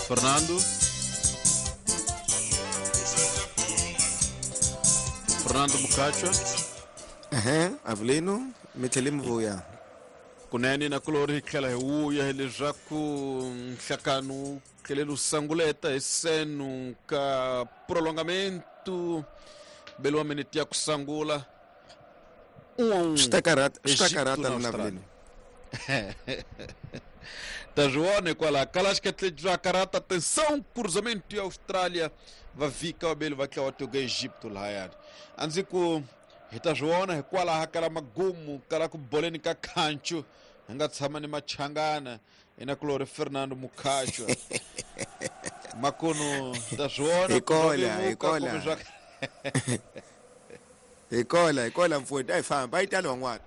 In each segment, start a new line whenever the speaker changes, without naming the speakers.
Fernando. Fernando Mukacha.
Ehe, Avelino, mi tlhele mi vuya.
Kunene na kulori hi tlhela hi vuya hileswaku nhlakano wu tlhelele wu sanguleta hi senu ka prolongamento beliwa minute ya ku sangula.
Swi ta karhata, swi ta karhata na Avelino.
Ta swi vona hikwalaho kala xiketle bya karhata. Atenção, cruzamento ya Austrália va vhika vabeli va tlawa tiko Egipto lahayani. A ndzi ku hi ta swi vona hikwalaho kala magumu kala ku boleni ka khanchu hi nga tshama ni machangana inakulori Fernando Mukhachwa. Makunu hi ta swi vona
Hi kola, hi kola. Hi kola, hi kola mfowethu, a hi famba, a yi tali van'wana.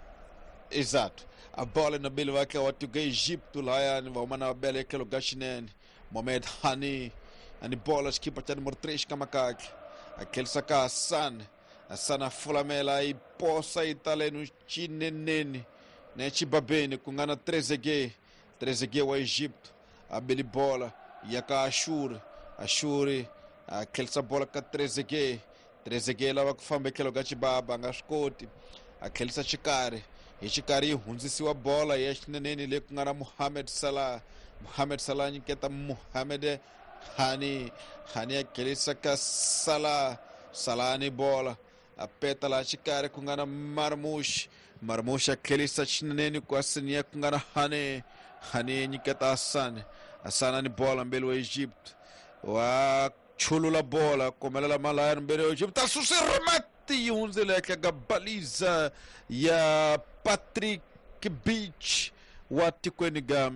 Exato. A bola na bele va tlawa tiko Egipto lahayani va huma na va bela etlhelo ka xinene. Mohamed Hani ani bola xikipa xa numero 3 ka makakhe. A tlherisa ka Hassan. Hassan a fulamela yi posa yi talenu xineneni ne xibabeni ku nga na Trezeguet. Trezeguet wa Egipto a beli bola ya ka Ashuri. Ashuri a tlherisa bola ka Trezeguet. Trezeguet lava ku famba etlhelo ka xibaba a nga swi koti. A tlherisa xikarhi. Hi xikarhi yi hundzisiwa bola ya xineneni leyi ku nga na Mohamed Salah. Mohamed Salah nyiketa Mohamed Hani. Hani a tlherisa ka Salah. Salah ni bola. A peta laha xikarhi ku nga na Marmoush. Marmoush a tlherisa xineneni ku asinia ku nga na Hani. Hani nyiketa Hassan. Hassan ni bola mbeli wa Egypt. Wa chulula bola komelela malaya mbeli wa Egypt. A susa remate yi hundzile ehenhla ka baliza ya Patrick Beach wa tikweni ga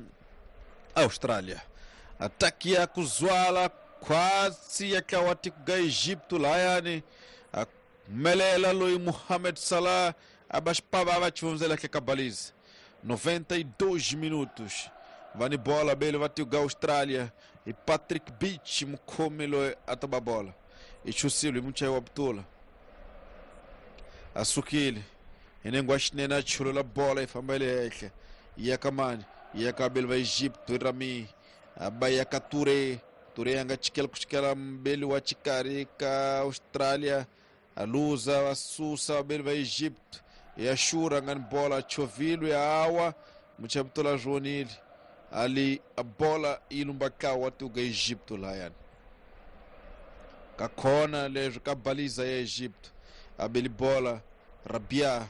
Australia. Ataki ya kuzwala khwatsi ya tlawa tiko ga Egipto lahayani. A melela loyi Mohamed Salah a ba xipava va xihundzela ehenhla ka baliza. 92 minutos. Va ni bola bele va tiko ga Australia hi Patrick Beach mukhomi loyi a ta ba bola. I chusile hi muchayi wa butula. A sukile hi nengo wa xinene a chulula bola yi famba le henhla. Ya ka mani? Ya ka bele va Egipto Rami. A ba ya ka Touré. Touré a nga chikela ku chikela mbeli wa xikarhi ka Australia. A luza va susa vabeli va Egypt. Ya Shura nga ni bola chovilo ya awa muchabutola zvonile. Ali a bola yi lumba tlawa tuga Egypto lahayani. Ka khona leswi ka baliza ya Egypt. A beli bola Rabia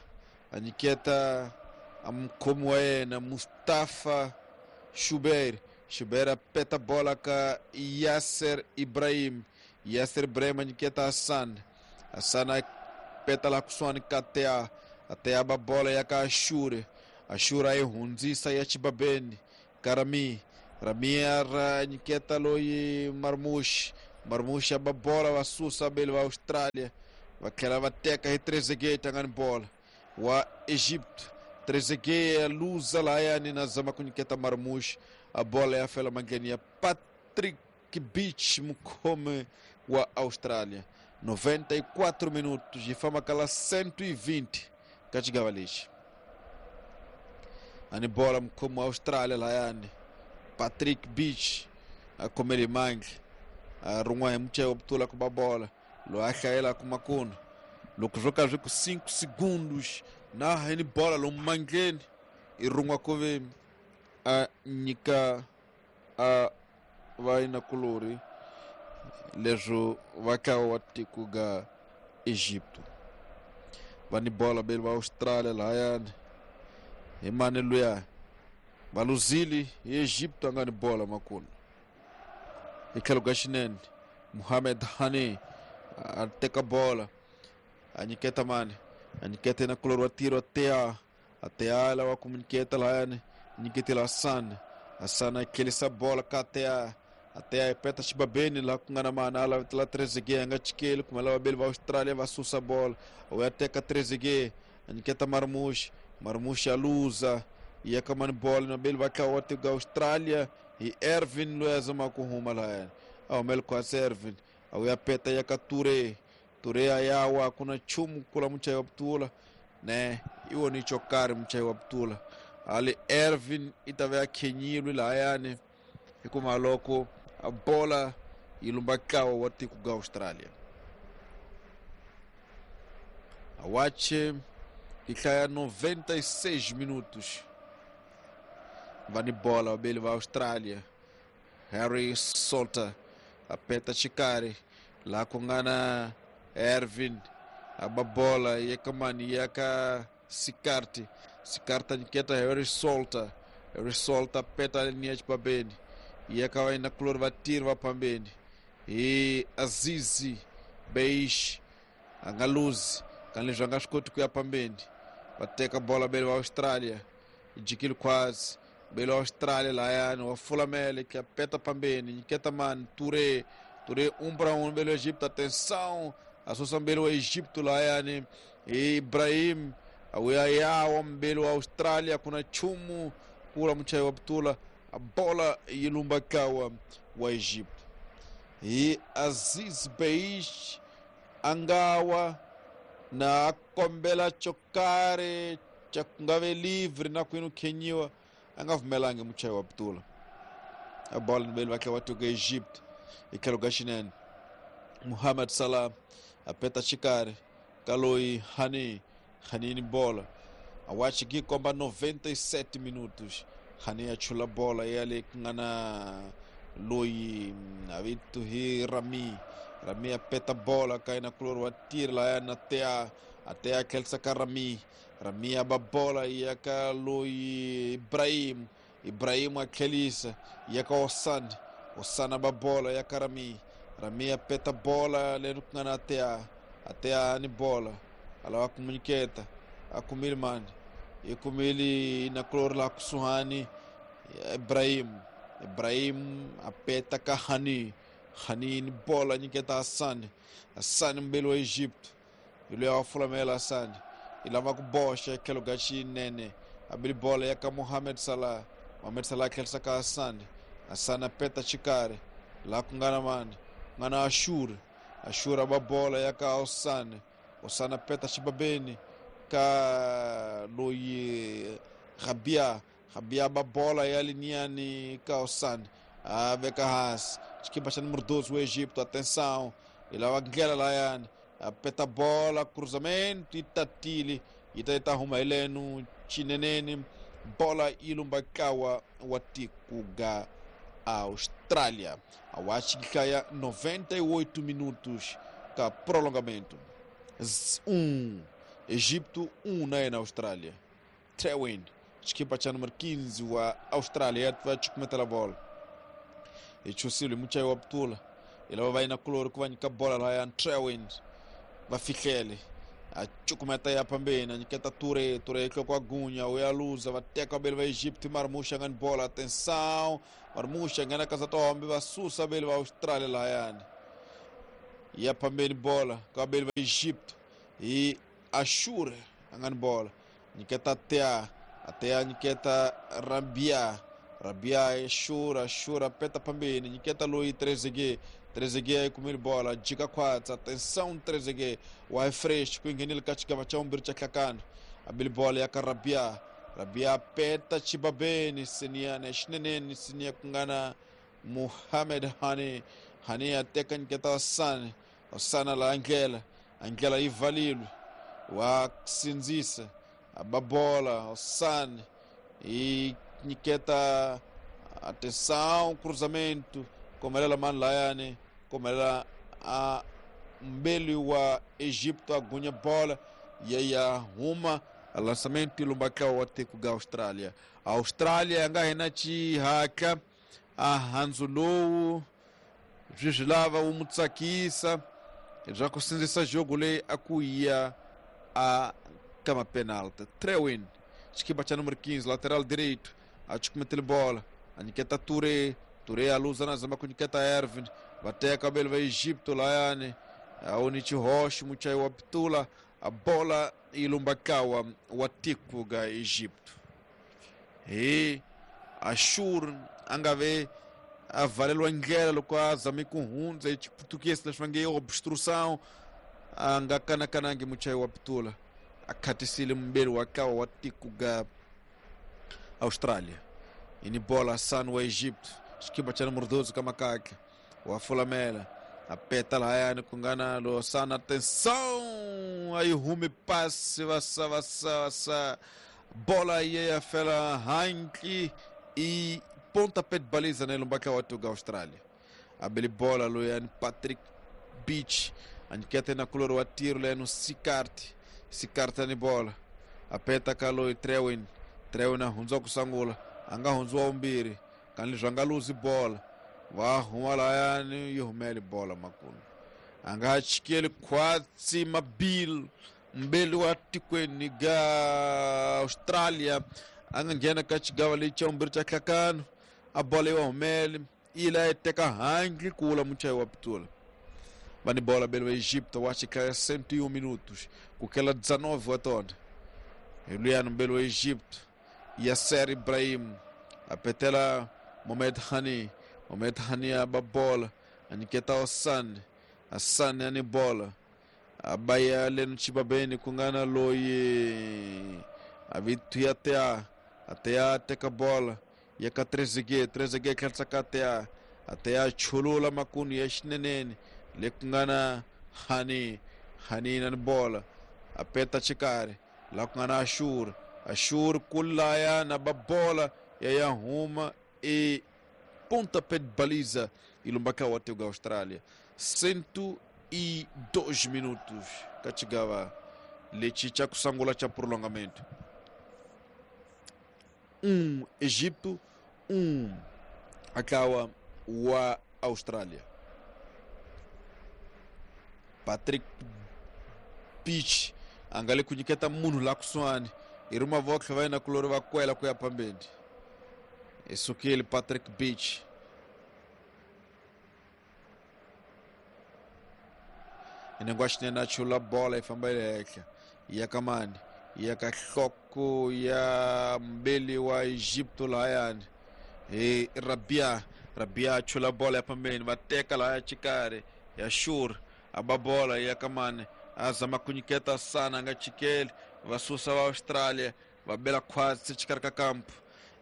a nyiketa a mukhomi wa yena Mustafa Shuber. Shuber a peta bola ka Yasser Ibrahim. Yasser Ibrahim a nyiketa Hassan. Hassan a peta laha kusuhani ka Tea. A Tea ba bola ya ka Ashuri. Ashuri a yi hundzisa ya xibabeni ka Rami. Rami a ra nyiketa loyi Marmoush. Marmoush a ba bola va susa beli va Australia. Va tlhela va teka hi Trezeguet a nga ni bola wa Egypt. Trezeguet a luza lahayani na zama ku nyiketa Marmoush. A bola ya fela mandleni ya Patrick Beach mukhomi wa Australia. 94 minutos yi famba kala 120 ka xigava lexi. Ani bola mukhomi wa Australia lahayani Patrick Beach a khomele mandla. A rin'wa hi muchayi wa butula ku ba bola loyi a hlayelaka makunu. Loko swo ka swi ku 5 segundos na hi ni bola lomu mandleni i rin'wa ku ve a nyika a va inakulori leswo va tlawa wa tiko ga Egipto. Va ni bola beli va Australia lahayani hi mani luya va luzile hi Egipto a nga ni bola makunu. Hi tlhelo ka xinene Mohamed Hani a teka bola a nyiketa mani a nyiketa inakulori wa tiro Tea. A Tea lava ku nyiketa lahayani nyiketela Hassan. Hassan a tlherisa bola ka Tea. A Tea yi peta xibabeni laha ku nga na mani a lavetela Trezeguet a nga chikeli kumbe lava beli va Australia va susa bola. U ya teka Trezeguet a nyiketa Marmoush. Marmoush a luza ya ka mani bola na beli va tlawa tiko Australia hi Ervin loyi a zamaka ku huma lahayani. A humele khwatsi Ervin. A wu ya peta ya ka Touré. Touré a yawa ku na nchumu kula muchayi wa butula. Ne i wona xo karhi muchayi wa butula. Ali Ervin i ta va ya khenyilwe lahayani hikuva loko A bola yi lumba ntlawa wa tiko ga Australia. Awache yi hlaya 96 minutos. Va ni bola vabeli va Australia. Harry Salter apeta xikarhi laha ku nga na Ervin a ba bola ya ka mani ya ka Sikarti. Sikarti a nyiketa Harry Salter. Harry Salter peta niya xibabeni ya ka va kulori vatirhi va phambeni hi Azizi Beish a nga luzi kanileswi a nga swi koti ku ya phambeni. Va teka bola beli va Australia jikile khwatsi beli wa Australia lahayani wa fulamele ka peta phambeni nyiketa mani Touré. Touré 1 para 1 beli wa Egipto. Atenção, a susa mbeli wa Egipto lahayani Ibrahim awuya yawa mbeli wa Australia. Kuna chumu kula muchayi wa putula a bola yi lumba kawa wa Egipto hi Aziz Beish angawa na kombela xo karhi xa ku nga ve livre na kwini khenyiwa a nga pfumelangi muchayi wa putula. A bola ni beli va tlhela va tiko Egypt hi tlhelo ka xinene. Muhammad Salah a peta xikarhi ka loyi Hani. Hani ni bola a wachi ki komba 97 minutos. Hani a chula bola ya le ku nga na loyi a vito hi Rami. Rami a peta bola ka yena kulori wa tirhi lahaya na Tea. A Tea tlherisa ka Rami. Rami a ba bola ya ka loyi Ibrahim. Ibrahim a tlherisa ya ka Osan. Osan a ba bola ya ka Rami. Rami a peta bola leri ku nga na Tea. A Tea ni bola a lava ku munyiketa a kumile mani i kumile na kulori laha kusuhani Ibrahim. Ibrahim a peta ka Hani. Hani ni bola nyiketa Hassan. Hassan mbeli wa Egypt hi loyi a wa fulamela. Hassan i lava ku boxa tlhelo ka xinene a beli bola ya ka Mohamed Salah. Mohamed Salah tlherisa ka Hassan. Hassan a peta xikarhi laha ku nga na mani ku nga na Ashur. Ashur a ba bola ya ka Osan. Osan a peta xibabeni ka loyi Rabia. Rabia ba bola ya liniani ka Osan a veka hansi xikipa xa número 12 wa Egipto. Atenção, i lava ndlela layani a peta bola cruzamento yi tatile yi ta yi ta huma hi lenu xineneni bola yi lumba ntlawa wa tiko ga Austrália. A wachi hlaya 98 minutos ka prolongamento. 1 Egipto 1 na yena Austrália. Trewin xikipa xa número 15 wa Austrália va cukumetela bola hi chusile muchayi wa putula hi lava va yina kulori ku va nyika bola lahaya Trewin va fihlele a cukumeta ya phambeni a nyiketa Touré. Touré hloko a gunya u ya luza va teka vabeli va Egypt. Marmush a nga ni bola. Atenção, Marmush a nghena ka Satombe va susa vabeli va Australia lahayani ya phambeni bola ka vabeli va Egypt hi Ashur a nga ni bola nyiketa Tea. Atea nyiketa Rabia. Rabia Ashur. Ashur a peta phambeni nyiketa loyi Trezeguet. Trezeguet yi kumile bola jika khwatsa. Atenção, Trezeguet wa fresh ku nghenile ka xigava xa vumbirhi xa hlakana a beli bola ya ka Rabia. Rabia peta xibabeni siniyana xineneni siniya ku nga na Muhammad Hani. Hani a teka nyiketa Osana. Osana laha ndlela a ndlela yi valile wa sindzisa a ba bola Osana yi nyiketa. Atenção, cruzamento komelela mani layani komelela a mbeli wa Egipto a gunya bola ya ya huma a lançamento lumba ntlawa wa tiko ga Australia. Australia ya nga hina xihatla a handzu lowu swi swi lava wu mu tsakisa bya ku sindzisa jogo leyi a ku ya a ka mapenalti. Trewin xikipa xa número 15 lateral direito a cukumetele bola a nyiketa Touré. Touré a luza na zama ku nyiketa Ervin va teka vabeli va Egipto layani Aonichi Roche muchayi wa putula a bola yi lumba ntlawa wa tiko ga Egipto hi Ashur a nga ve a valeliwa ndlela loko a zame ku hundza hi xiputukezi leswi va nge obstrução a nga kanakanangi muchayi wa putula a khatisile mumbeli wa ntlawa wa tiko ga Australia. Ini bola Hassan wa Egipto Xikipa cha número 12 ka makakhe wa fulamela apeta lahayani ku nga na Losana. Atenção, aí humi passe vasa vasa vasa bola ye ya fela hanki e pontapé de baliza nele umbaka wa tuga Austrália. Abeli bola loyani Patrick Beach anikete na kulor wa tiro leno Sikart. Sikart ani bola apeta kaloi Trewin. Trewin ahunza kusangula anga hunzwa umbiri kanli zwangaluzi bola wa huma layani yihumele bola makulu anga chikele kwatsi mabil mbeli wa tikweni ga Austrália anga nghena ka xigawa lexi xa vumbirhi xa hlakano a bola yi humele ila teka hangi kula muchayi wa pitula va ni bola bele wa Egipto wa xikaya 101 minutos kukela 19 wa tona hi luyani mbeli wa Egipto Yasser Ibrahim apetela Mohamed Hani. Mohamed Hani aba bola aniketa Ossan. Hassan ani bola abaya leno chibabeni kungana loyi avitu ya tea atea teka bola yaka Trezeguet. Trezeguet khatsaka atea atea chulula makunu ya xinenene le kungana Hani. Hani nani bola apeta chikari la kungana Ashur. Ashur kulaya na babola ya huma e pontapé de baliza e lumbaka wa teuga Austrália. 102 minutos kachigava lechi cha kusangula cha prolongamento. 1 Egipto, 1 akawa wa Austrália. Patrick Beach angale kunyiketa munhu la kusuhani iruma votlhe va yena kulori va kwela ku ya pambeni. Esukile Patrick Beach inengwa xinene a chula bola yi famba yi le henhla ya ka mani ya ka nhloko ya mbeli wa Egipto lahayani hi Rabia. Rabia a chula bola ya pambeni va teka lahaya xikarhi ya Shur aba bola ya ka mani a zama ku nyiketa sana nga chikeli va susa va Austrália va bela khwatsi xikarhi ka kampu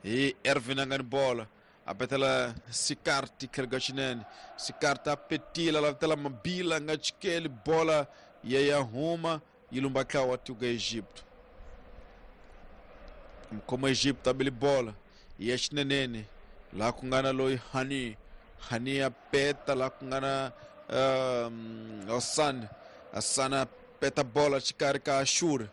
hi Ervin a nga ni bola apetela Sikarti khelga xinene. Sikarti a petila lavitela Mabila nga chikeli bola ya ya huma yi lumba tlawa wa tuga Egipto. Mkhoma Egipto abeli bola ya xinenene laha ku nga na loyi Hani. Hani a peta laha ku nga na Hassan. Hassan a peta bola xikarhi ka Ashur.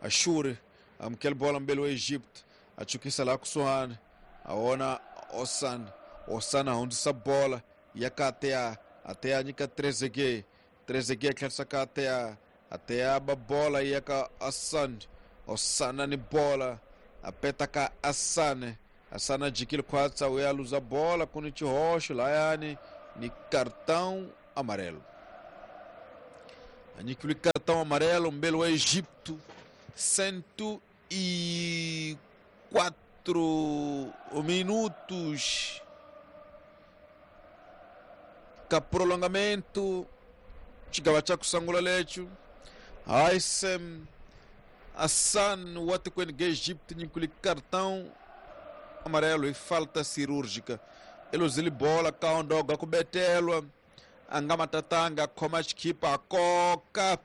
Ashur amukela bola mbeli wa Egipto a chukisa laha kusuhani a vona Ossan. Ossan a hundzisa bola ya ka Atea. Atea nyika Trezeguet. Trezeguet tlherisa ka Atea. Atea ba bola ya ka Hassan. Ossan ni bola a peta ka Hassan. Hassan a jikile khwatsa u ya luza bola ku ni xihoxo layani ni cartão amarelo. A nyikiwile cartão amarelo mbeli wa Egipto. 104 minutos ka prolongamento xigava xa kusangula lexo Haissem Hassan wa tikweni ga Egipto nyikiwile cartão amarelo e falta cirúrgica. Eluzile bola kaondoga ku betelwa a nga matatanga a khoma xikipa a koka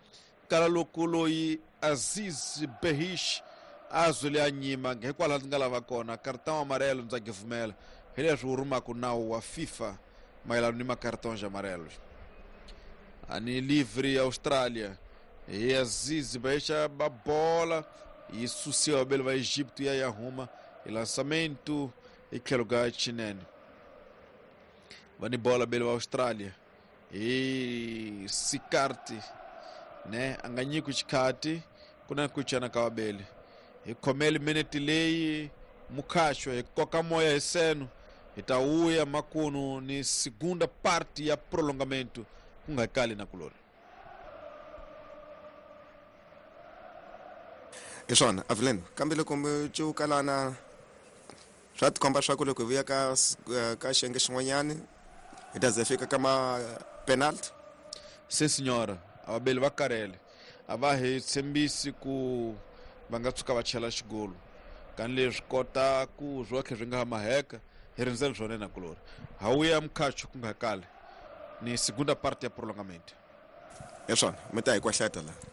kala loko loyi Aziz Behish a zwile a nyima hikwalaho ndzi nga lava kona cartão amarelo ndza givumela hi leswi wu rumaka nawu wa FIFA mayelana ni macartões amarelos. Ani livre Austrália hi Aziz Behish ba bola yi susiwa bele va Egipto ya ya huma hi lançamento hi tlhelo ga xinene va ni bola bele va Austrália hi Sikarti ne a nga nyiki xikhati ku na ku cana ka vabeli hi khomele minute leyi mukhaxo hi koka moya hi seno hi ta wuya makunu ni segunda parte ya prolongamento ku nga kali na kulori.
Hi swona Avelin kambe loko mi cukalana swa tikomba swa ku loko hi vuya ka ka xiyenge xin'wanyani hi ta ze fika ka ma penalty.
Sim senhora, a vabeli va karhele a va hi tshembisi ku va nga tshuka va chela xigolo kani leswi kota ku swotlhe swi nga ha maheka Hi rindzele swona na kulori. Hawuya mkhacho ku nga kale ni segunda parte ya prolongamento.
Hi swona mi ta hi kwahleta la.